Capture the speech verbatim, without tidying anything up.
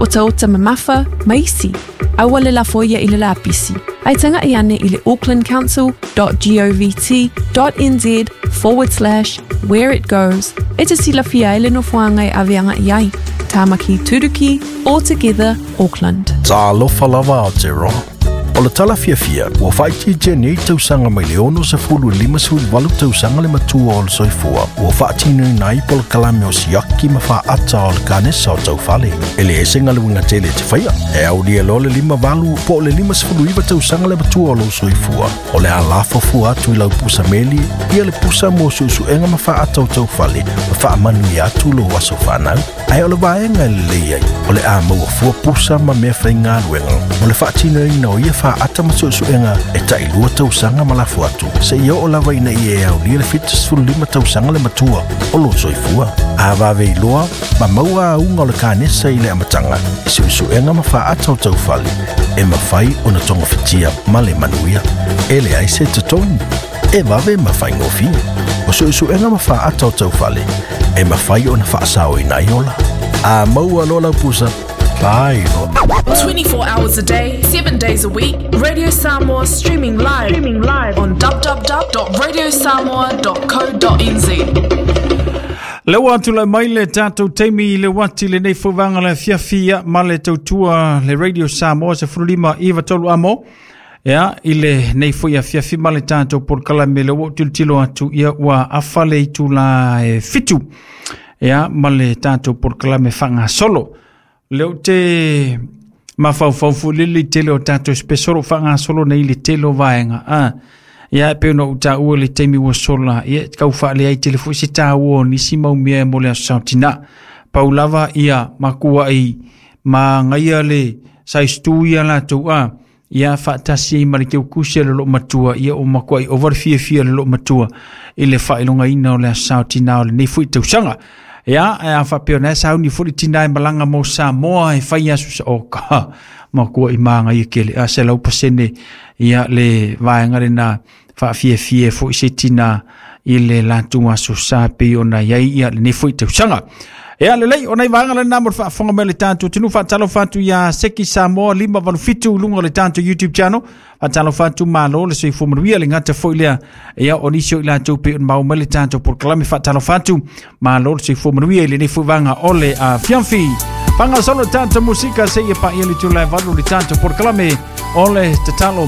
Otaota mamafa ma isi. Aua le lafoia i le lapisi. Ae taga'i ane i le aucklandcouncil dot govt dot N Z forward slash where it goes e te silafia ai le nofoaga e ave aga'i ai. Tāmaki Turuki, all together, Auckland. Talofa lava Aotearoa. O le tala fiafia, ua faaitiitia nei tausaga mai le ono sefulu i lima sefulu valu tausaga le matua o le soifua, ua faatinoina ai polokalame o siaki ma faata o le kanesa o taufale. E le ese galuega tele e te faia. E aulia loa le lima valu po o le lima sefulu iva tausaga le matua o lou soifua. O le a lafo fua atu i lau pusa meli, ia le pusa mo suesuega ma faata o taufale, ma faamanuia atu lou aso fanau. Ae o le vaega e lelei ai, o le a maua fua pusa ma mea faigaluega mo le faatinoina o ia faata ma suesuega e tailua tausaga ma lafo atu, seia oo lava ina ia e aulia le fitu sefulu lima tausaga le matua o lou soifua. A vave iloa ma maua auga o le kanesa i le amataga i suesuega ma faata o taufale e mafai ona togafitia ma le manuia. E leai se totogi, e vave ma faigofie. O suesuega ma faata o taufale e mafai ona faasaoina ai ola. A maua loa lau pusa, fai loa. twenty-four hours a day, seven days a week, Radio Samoa streaming live, streaming live on w w w dot radiosamoa dot co dot n z. Le ua atulai mai le tatou taimi i le uati lenei fauvaga le afiafi ia ma le tautua le Radio Samoa se fululima iva tolu amo. Ia, i le nei foi afiafi ma le tatou polokalame le ua tilotilo atu ia ua afa le itula e fitu. Ia, ma le tatou polokalame faagasolo. Le ou te mafaufau foi lele i tele o tatou special o faagasolo nei le tele o vaega. Ah, ia e pei ona ou taua le taimi ua sola, ia kau faaleai tele foi se taua o nisi mau mea mo le aso saotina. Pau lava ia makuai magaia le size tu ia latou a ia faatasi ai ma le keukusi a le loo matua ia o makuai ova le fiafia le loo matua i le faailogaina o le aso saotina o lenei foi tausaga. Ia, e a faapea ona e sauni foi le tina e malaga mo Samoa e fai aso sa o ka makua i magaia kele a se lau pasene ia le vaega lena faafiafia foi se tina i le latou aso sa pei ona iai ia lenei foi tausaga. Ia lelei, o nai vaega lena mo le faafofoga mai le tatou atunuu. Faatalofa atu ia Seki Samoa lima valu fitu i luga o le tatou YouTube channel. Faatalofa atu, malo le soifua manuia le gata foi lea. Ia o nisi o i latou pei ona maua mai le tatou polokalame. Faatalofa atu, malo le soifua manuia i lenei foi vaega o le afiafi. Faagasolo tatou musika seia paia le itula e valu le tatou polokalame o le tatalo.